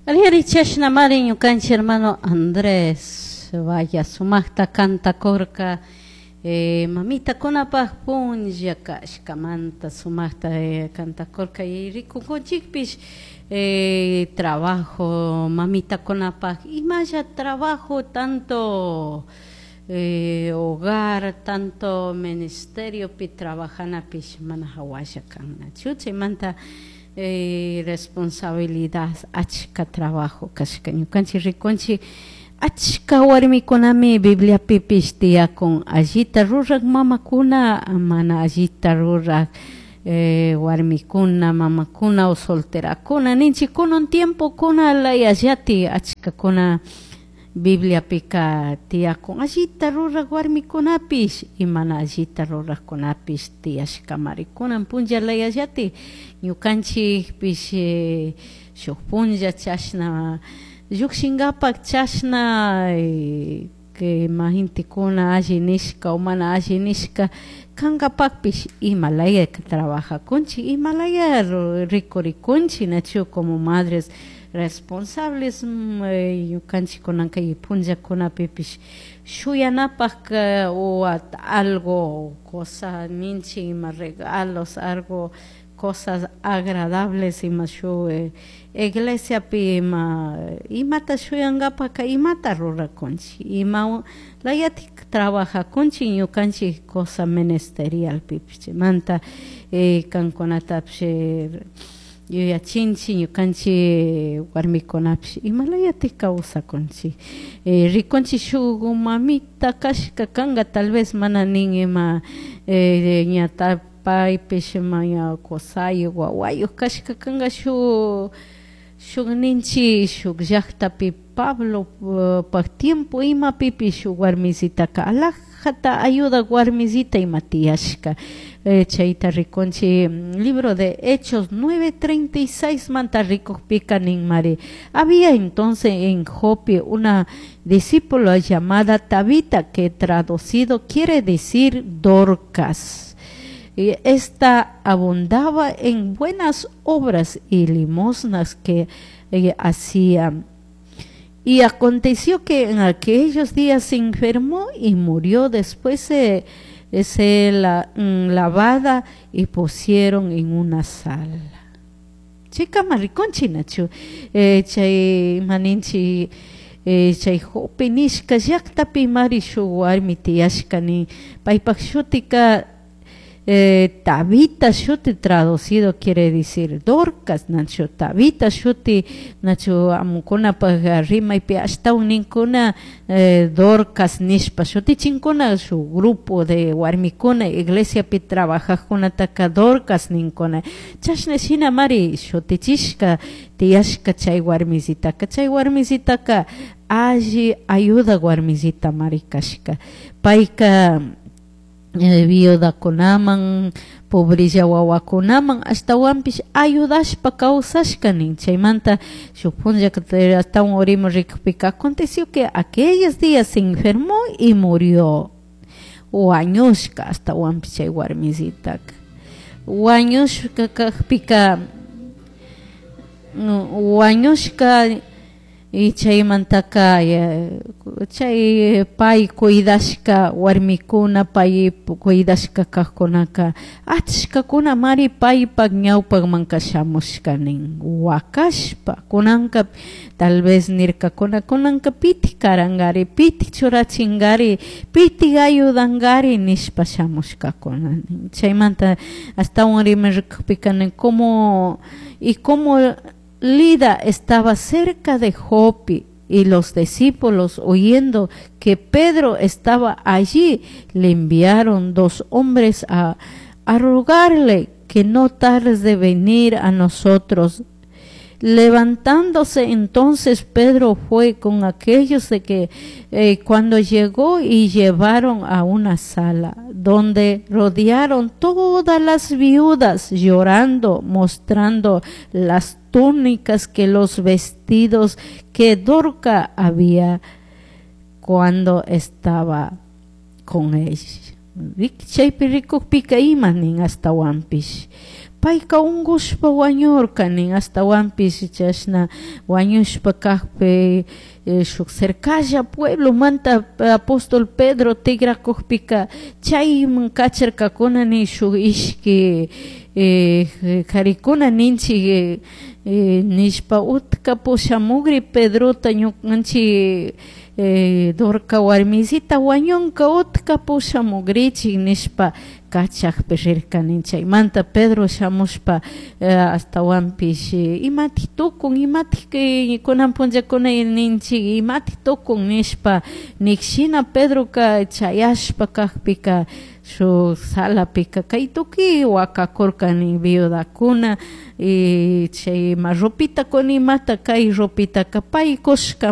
Aliri chashnamari ñukanchik hermano Andrés vaya sumaqta cantakurka mamitakunapaq punlla kashkamanta sumaqta cantakurka y rikukunchikpish trabajo mamitakunapaq imalla trabajo tanto hogar tanto ministeriopi trabajanapish mana hawalla kannachu chaymanta responsabilidad achka trabajo kashka ñukanchik rikunchik achka warmikunami Bibliapipish tiyakun allita rurak mamakuna mana allita rurak warmikuna mamakuna o solterakuna ninchik kunan tiempokuna layallati achkakuna Bibliapika tiyakun allita rurak warmikunapish y mana allita rurakkunapish tiyashkamari kunan punlla layallati ñukanchikpish shuk punlla chashna llukshinkapak chashna que ima gentekuna alli nishka o mana alli nishka kankapakpish imalaya trabajakunchik imalaya rikurikunchik nachu como madres responsables ñukanchik kunanka kay punllakunapipish shuyanapak o algo cosa ninchik ima regalos algo cosas agradables ima shuk iglesiapi ima imata shuyankapaka imata rurakunchik ima layatik trabajakunchik ñukanchik cosa ministerialpipish chaymanta kankunatapish yuyachinchik ñukanchik warmikunapish imalayatik kawsakunchik rikunchik shuk mamita kashka kanka tal vez mana nin ima ña paypish ima ña kusayuk wawayuk kashka kanka shuk shuk ninchik shuk llaktapi Pablo pak tiempo imapipish shuk warmisitaka alajata ayudak warmisita ima tiyashka chayta rikunchik libro de Hechos 9:36 manta rikukpika ninmari había entonces en Jope una discípula llamada Tabita, que traducido quiere decir Dorcas. Y esta abundaba en buenas obras y limosnas que hacía. Y aconteció que en aquellos días se enfermó y murió. Después se la lavada y pusieron en una sala. Chika mariconchi nachu chay maninchi chay Jope nishka llaktapi mari shuk warmi tiyashka nin paypak shutika Tabita shuti, traducido quiere decir Dorcas, nachu Tabita shuti, nachu amukunapaj rimaypi ashtawan ninkuna Dorcas nishpa shutichinkuna shuk grupo de warmikuna iglesiapi trabajajkunataka Dorcas ninkuna chashna shina mari shutichishka tiyashka chay warmisitaka chay warmisitaka alli ayuda warmisita mari kashka payka viudakunaman pobrilla wawakunaman ashtawanpish ayudashpa kawsashka nin chaymanta shuk punlla ashtawan urimu rikukpika aconteció que aquellos días se enfermó y murió wañushka ashtawanpish chay warmisitaka wañushka kakpika wañushka y chaymantaka chay pay cuidashka warmikuna pay cuidashka kajkunaka achkakuna mari paypak ñawpakmanka shamushka nin wakashpa kunanka tal vez nirkakuna kunanka pitik karankari pitik churachinkari pitik ayudankari nishpa shamushkakuna nin chaymanta ashtawan rimarikukpika nin como y como Lida estaba cerca de Jope y los discípulos, oyendo que Pedro estaba allí, le enviaron 2 hombres a rogarle que no tardes de venir a nosotros. Levantándose entonces Pedro fue con aquellos de que cuando llegó y llevaron a una sala donde rodearon todas las viudas llorando, mostrando las túnicas que los vestidos que Dorca había cuando estaba con ella. Chaypi rikukpika ima nin ashtawanpish. Payka unkushpa wañurka nin, ashtawanpish chashna wañushpa kakpi shuk cercalla pueblomanta apóstol Pedro tigrakukpika chayman kacharkakuna nin shuk ishki karikuna ninchik nishpa utka pushamukri Pedrota ñukanchik Dorca warmisita wañunka utka pushamukrichik nishpa kachakpi rirkani. Chaymanta Pedro shamushpa ashtawanpish imatik tukun, imatik kunan punllakuna ninchik imatik tukun nishpa nikshina Pedroka chayashpa kakpika shuk salapika kay tukuy wakakurkani viudakuna y chay ima ropita kun imata kay ropitaka pay kushka.